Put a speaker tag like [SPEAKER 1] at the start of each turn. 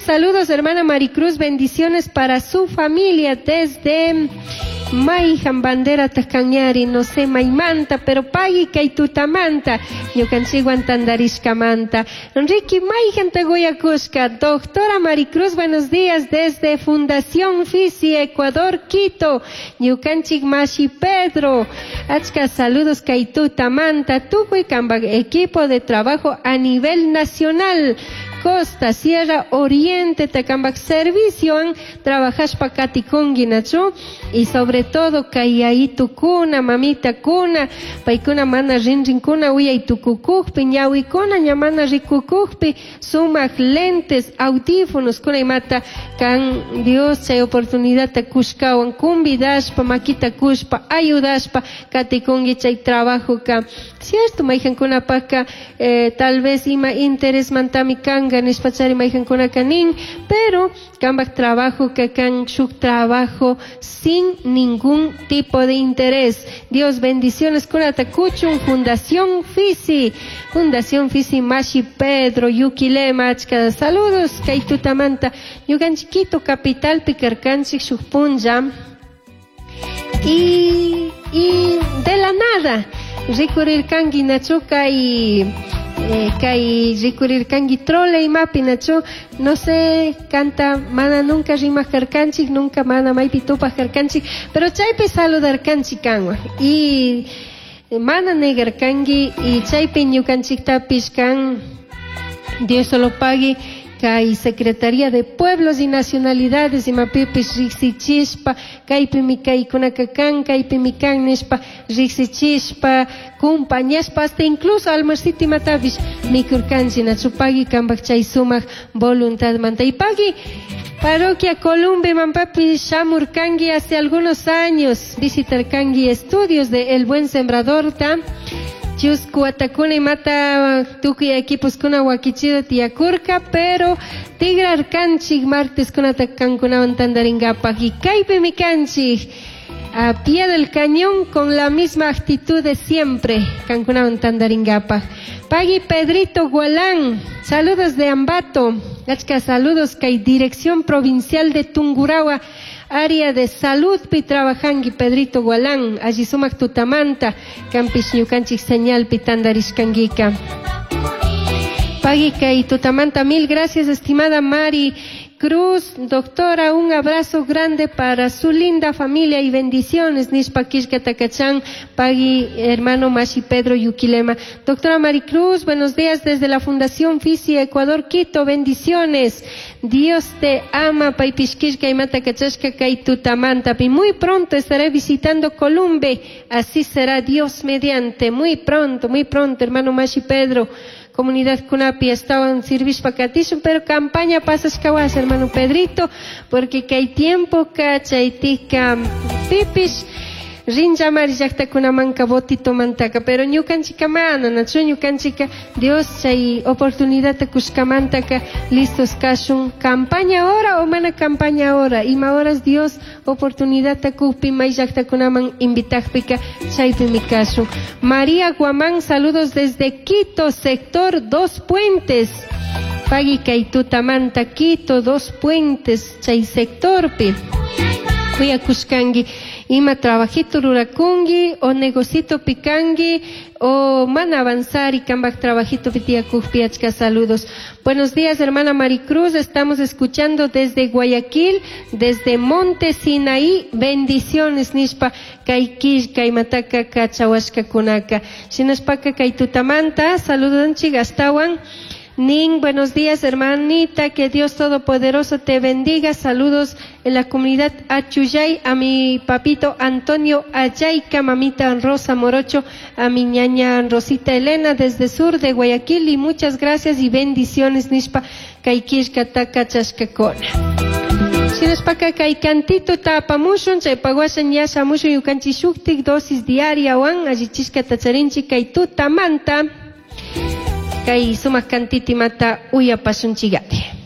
[SPEAKER 1] Saludos, hermana Maricruz. Bendiciones para su familia desde Maijan bandera Cañari, no sé, Maimanta, pero pagui kay tutamanta, ñukanchikwan tandarishkamanta. Enrique Maijan Tagoyacushka, doctora Maricruz, buenos días desde Fundación Fisi, Ecuador, Quito, ñukanchik Mashi Pedro, achka saludos kay tutamanta, tukuy kambak equipo de trabajo a nivel nacional. Costa, Sierra, Oriente, Tacambac servicio, trabajashpa katikungi nachu, y sobre todo kay yayitukuna, mamitakuna, paykuna mana rinrinkuna uyay tukukukpi, ñawikuna ña mana rikukukpi, sumak lentes, audífonos, kuna imata kan Dios chay oportunidad kushkawan kumbidashpa, makita kushpa, ayudashpa, katikungi chay trabajo ka. Cierto, mayjankunapaka tal vez ima interés mantami kanga nishpachari mayjankunaka nin, pero kambak trabajo ka kan shuk trabajo sin ningún tipo de interés. Dios bendiciones kunata kuchun Fundación Fisi, Fundación Fisi Mashi Pedro Yuquilema, achka saludos kay tutamanta ñukanchik Quito capital pikarkanchik shuk punlla y de la nada rikurirkanki nachu kay kay rikurirkanki trole imapi nachu, no sé, kanta mana nunca rimaq karkanchik, nunca mana maypi tupaq karkanchik, pero chaypi saludarkanchik kanwan y mana negarkanki y chaypi ñukanchiktapish kan Dios solo pague kay Secretaría de Pueblos y Nacionalidades imapipis riqsichishpa kaypimi kaykunaka kan kaypimi kan nishpa riqsichishpa kumpañashpa hasta incluso almuercito imatapish mikurkanchik nachu pagui kambak chay sumak voluntad manta y pagui Parroquia Columbe mampapi shamurkanki hace algunos años visitarkanki estudios de El Buen Sembrador ta chusku watakuna imata tukuy equipos kuna wakichido tiyakurka, pero tigrarkanchik martes kunata kankunawan tandarinkapak y kaypimi kanchik a pie del cañón con la misma actitud de siempre kankunawan tandarinkapak. Pagui Pedrito Gualán, saludos de Ambato, achka saludos kay Dirección Provincial de Tungurahua, área de salud pi trabajangi Pedrito Gualán, alli sumak tutamanta, kampish ñukanchik señal pi tandarishkankika. Pagui kay tutamanta, mil gracias estimada Mari Cruz, doctora, un abrazo grande para su linda familia y bendiciones. Nishpa kishka takachan, pagui hermano Mashi Pedro Yuquilema. Doctora Maricruz, buenos días desde la Fundación Fisi Ecuador Quito, bendiciones. Dios te ama, paypish kishka imata kachashka kay tutamanta. Y muy pronto estaré visitando Columbe, así será Dios mediante. Muy pronto, hermano Mashi Pedro. Comunidad Kunapi estaban sirvishpa katishun, pero campaña pasashkawas, hermano Pedrito, porque kay tiempo chaytika pipish rinllamari llaqtakunamanka botito mantaka, pero ñukanchika mana, nachu ñukanchika Dios chay oportunidad kushkamantaka listos kashun, campaña ahora o mana campaña ahora, ima horas Dios oportunidad kukpi may llaqtakunaman invitakpika chaypimi kashun. María Guamán, saludos desde Quito, sector Dos Puentes. Pagui kay tutamanta Quito, Dos Puentes, chay sectorpi. Kuyakushkanki, ima trabajito rurakunki o negocito pikanki o mana avanzar y kambak trabajito pitiakukpi, achka saludos. Buenos días, hermana Maricruz, estamos escuchando desde Guayaquil, desde Monte Sinaí, bendiciones nishpa kay killka imataka kachawashka kunaka. Shinashpaka kay tutamanta, saludanchik astawan. Nin, buenos días, hermanita, que Dios Todopoderoso te bendiga. Saludos en la comunidad Achuyay, a mi papito Antonio Ayayca, mamita Rosa Morocho, a mi ñaña Rosita Elena desde sur de Guayaquil, y muchas gracias y bendiciones, nishpa, kay killka taka chashkakona. Shinashpaka kay cantito tapamushun, chay paguashan ya shamushun yukanchi shuktik dosis diaria wan, allichishka tacharinchi kay tutamanta. Kay sumak cantiti mata uyapashunchigati.